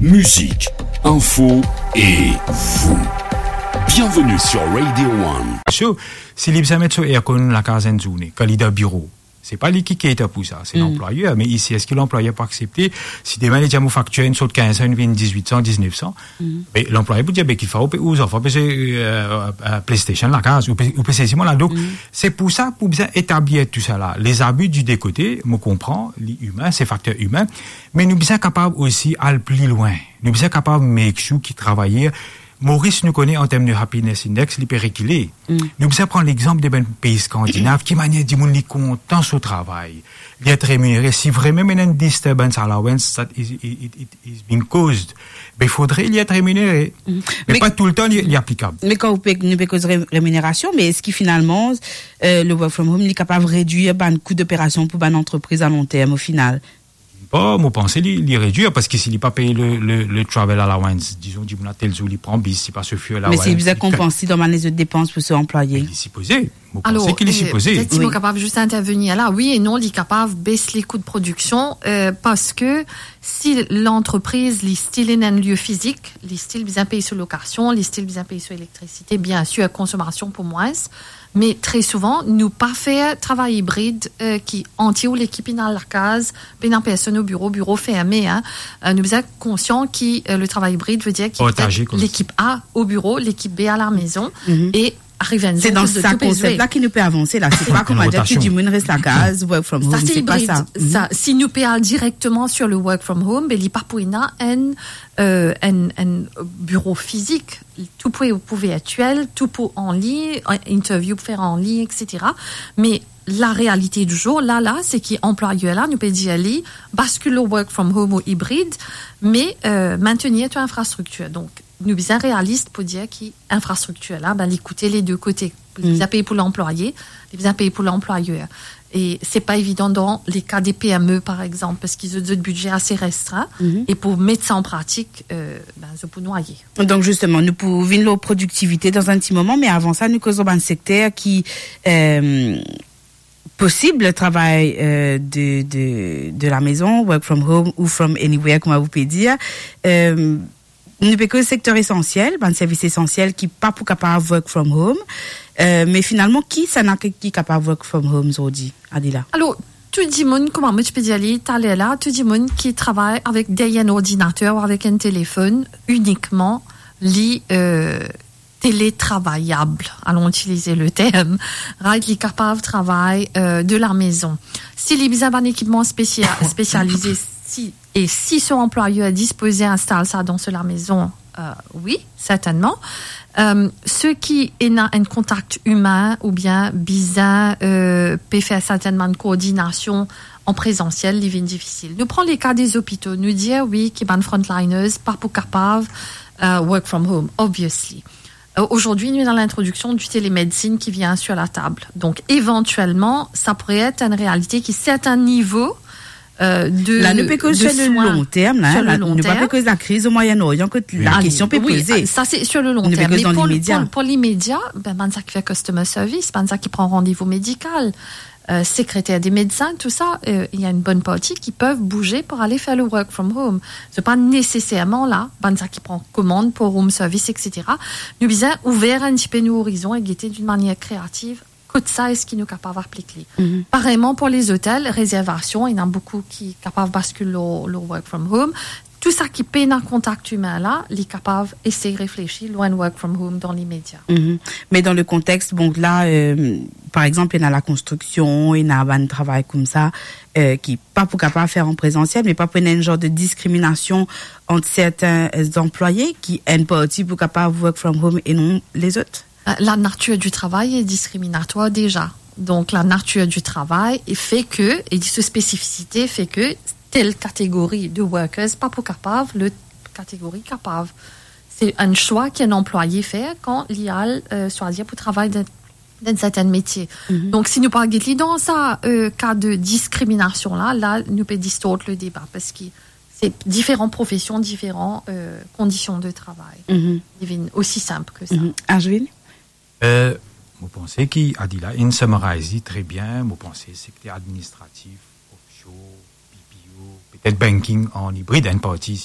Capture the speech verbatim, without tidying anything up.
Musique, info et vous. Bienvenue sur Radio One. So, si li bizin met so aircon lakaz enn zourne, kan li dan biro, se pa li ki cater pou sa, se lanplwayer. Me isi, eski lanplwayer pou aksepte, si demin li dir mo faktir inn sot kinz san, inn vinn diz-wit san, diz-nef san, be lanplwayer pou dir, be ki fer ou pe, ou zanfan pe zwe, euh, euh, PlayStation lakaz, ou pe, ou pe sezi mwa la. Donk, se pou sa, pou bizin etablir tou sa la. Les abus du deux côtés, mo konpran, li imin, se fakter imin, me nou bizin kapav osi al pli lwin. Nou bizin kapav make sure ki travayer Moris, nou kone an term de happiness index, li pe rekile. Nou bizin pran lexanp de bann pei skandinav, ki manier dimoun li kontan so travay, li et reminere. Si vremem ena enn disturbance allowance that is, it, it, it is being caused, be fodre li et reminere. Me pa toultan li, li aplikab. Me kan ou pe, nou pe koz re-, reminerasion, me eski finalman, euh, le work from home, li kapav redwir bann kou doperasion pou bann antrepriz a long term, o final? Bon, mo panse li, li redwir, parski si li pa pey le, le, le travel allowance, dizon, dimoun la tel zour li pran bis, li pa so fuel allowance, li konpans li dan bann lezot depans pou so anplwaye. Li sipoze, mo panse ki li sipoze. Alor, euh, petet si mo kapav zis intervenir la, wi e non, li kapav bes li kou de prodiksion, euh, parski si lantrepriz, li still ena enn lie fizik, li still bizin pey so lokasion, li still bizin pey so elektrisite, biensir, konsomasion pou mwins, Me tre souvan, nou pa fer travay ibrid, euh, ki antie ou lekip inn al lakaz, pena personn o biro, biro ferme, hein. Euh, nou bizin konsian ki, euh, le travay ibrid ve dir ki lekip A o biro, lekip B a la mezon, e ariv enn zour, tou pe zwe. Se dan sa konsep la ki nou pe avanse la. Se pa kouma dir ki dimoun res lakaz, work from home, se pa sa. Sa, si nou pe al direkteman sur le work from home, be li pa pou ena enn, euh, enn, enn biro fizik. Tou pou, pou virtiel, tou pou an lign, interview pou fer an lign, et cetera. Me la realite di zour, la, la, se ki anplwayer la, nou pe dir li, baskil lor work from home ou ibrid, me, euh, maintenir to infrastriktir. Donk, nou bizin realis pou dir ki infrastriktir la, be, li koute le de kote. Li bizin pey pou lanplwaye, li bizin pey pou lanplwayer. E se pa evidan dan le ka de P M E, par exanp, parski zot, zot bidze ase restrin, e pou met sa an pratik, euh, be, zot pou nwaye. Donk, zisteman, nou pou vinn lor prodiktivite dan enn ti moman, me avan sa, nou koz lor bann sekter ki, euh, posib travay, euh, de, de, de la maison, work from home ou from anywhere, kouma ou pe dir. Euh, nou pe koz sekter esansiel, bann servis esansiel ki pa pou kapav work from home. Euh, me finalman, kisannla ki, ki kapav work from home zordi, Adila? Alor, tou dimoun, kouma mo ti pe dir li taler la, tou dimoun ki travay avek deryer enn ordinater ou avek enn telefonn inikman, li, euh, télétravayab, alon itiliz le term, right, li kapav travay, euh, de la maison. Si li bizin bann ekipman spesia-, spesialize, si, e si so anplwayer dispoze instal sa dan so lamezon, euh, wi, sertennman. Euh, seki ena enn kontak imin oubien bizin, euh, pe fer sertenn bann koordinasion an prezansiel, li vinn difisil. Nou pran le ka de lopito, nou dir, wi, ki bann frontliners pa pou kapav, euh, work from home, obviously. Euh, azordi, nou ena lintrodiksion du télémédecine ki vinn sur la tab. Donk, evantielman, sa pourrait être une réalité ki serten nivo, euh, de, de soin. La, nou pe koz sur le long terme, la, sur le long terme. Nou pa pe koz lakriz o Moyen-Orient, kot la kestion pe poze. Wi, sa se sur le long terme. Nou pe koz dan limedia. Me pou, pou, pou limedia, be, bann sa ki fer customer service, bann sa ki pran randevou medikal, euh, sekreter de medsin, tou sa, euh, ena enn bonn parti ki pev bouze pou ale fer le work from home. Se pa neseserman la, bann sa ki pran komann pou room service, et cetera. Nou bizin ouver enn tipe nou orizon e gete d'une manière créative kot sa eski nou kapav aplik li. Pareyman pou lezotel, rezervasion, ena boukou ki kapav baskil lor, lor work from home. Tou sa ki pena kontak imin la, li kapav esey reflesi lor enn work from home dan limedia. Me dan le kontext, bon, la, euh, par exanp, ena lakonstriksion, ena bann travay koumsa, euh, ki pa pou kapav fer an prezansiel, me pa pou ena enn zar de diskriminasion ant serten, euh, anplwaye ki enn parti pou kapav work from home e non lezot? Euh, la nature du travail est discriminatoire déjà. Donc, la nature du travail fait que, et sa spécificité fait que telle catégorie de workers pa pou kapav, lot kategori kapav. Se enn swa ki enn anplwaye fer kan li al, euh, swazir pou travay dan, dan serten metie. Donk, si nou pa get li dan sa, euh, ka de diskriminasion la, la, nou pe distort le deba, parski se diferan profesion, diferan, euh, kondision de travay. Li vinn osi sinp ki sa. Ashwin? Euh, mo panse ki Adila inn summarize li tre bien. Mo panse sekter administratif, offshore, B P O, petet banking an ibrid, enn parti isi,